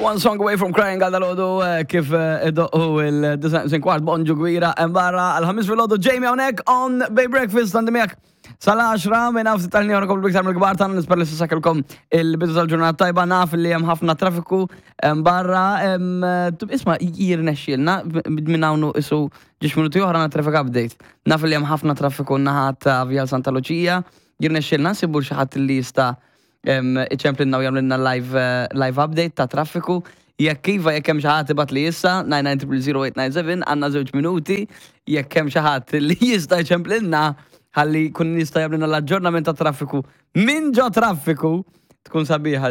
One song away from crying għal dalodu eh, kif eh, idoqqu il-design kwart bonġu gwira barra għal-ħamis fil-ħodu Jamie hawnhekk on Bay Breakfast għandi miegħek sal-10 minn naf tal-ni għana komplu iktar mill-kbar tagħna nisper li s-sakelkom il-bidu tal-ġurnata tajba naf li hemm ħafna traffiku barra eh, isma' jirnexxielna minn hawn isu ġiex minuti oħra na traffic update. Naf li hemm ħafna traffiku naħa ta' Vjal Santa Lucia, jirnexxielna nsibu xi ħadd li jista' iċemplinna u jagħmlilna live, eh, live update ta' traffiku. Jekk iva jekk hemm xi ħadd ibgħat li issa 9900897 għandna żewġ minuti jekk hemm xi ħadd li jista' jċemplilna ħalli kun jista' jagħmlilna l-aġġornament ta' traffiku minn ġo traffiku tkun sabiħa.